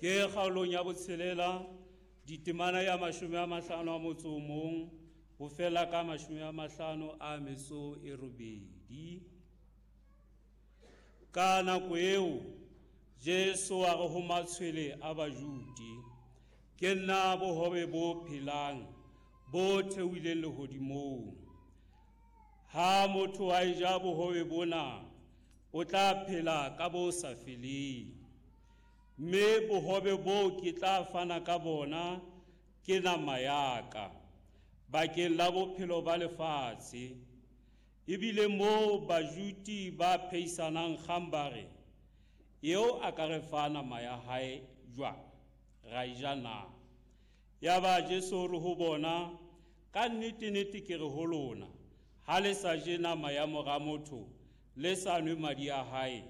Ke kgaolong ya botshelela, ditemana ya 51 ho fela ka 58. Ka nako eo Jesu a re ho matshwele a Bajudi, ke nna bohobe bo phelang bo theohileng lehodimong. Ha motho a eja bohobe bona, o tla phela ka bo sa feleng. Mme bohobe boo ke tla fana ka bona ke nama ya ka, bakeng la bophelo ba lefatshe. Ebile moo Bajudi ba phehisanang kgang ba re, eo a ka re fa nama ya hae jwang, ra e ja na? Yaba Jesu o re ho bona, ka nnete-nnete ke re ho lona, ha le sa je nama ya mora motho, le sa nwe madi a hae,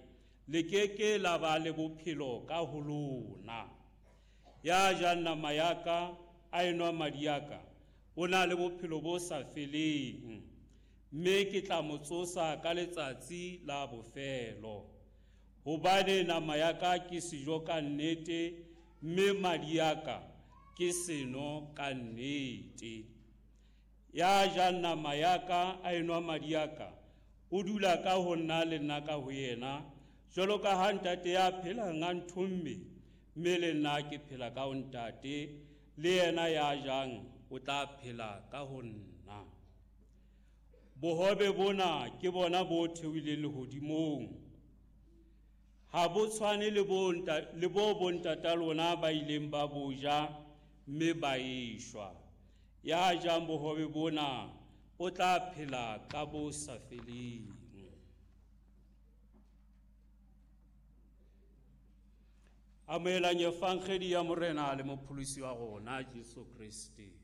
le ke ke la ba le bophelo ka ho lona. Ya jang nama ya ka, a enwa madi a ka, o na le bophelo bo sa feleng, mme ke tla mo tsosa ka letsatsi la bofelo. Hobane nama ya ka ke sejo ka nnete, mme madi a ka ke seno ka nnete. Ya jang nama ya ka, a enwa madi a ka, o dula ka ho nna le nna ka ho yena, jwalo ka ha ntate ya phelang a nthomme, mme le nna ke phela ka ho ntate, le yena ya jang o tla phela ka ho nna. Bohobe bona ke bona bo theohileng lehodimong. Ha bo tshwane le bo bontata lona ba ileng ba bo ja mme ba eshwa. Ya jang bohobe bona o tla phela ka bo sa feleng. Amohelang evangeli ya Morena le Mopholosi wa rona Jesu Kreste.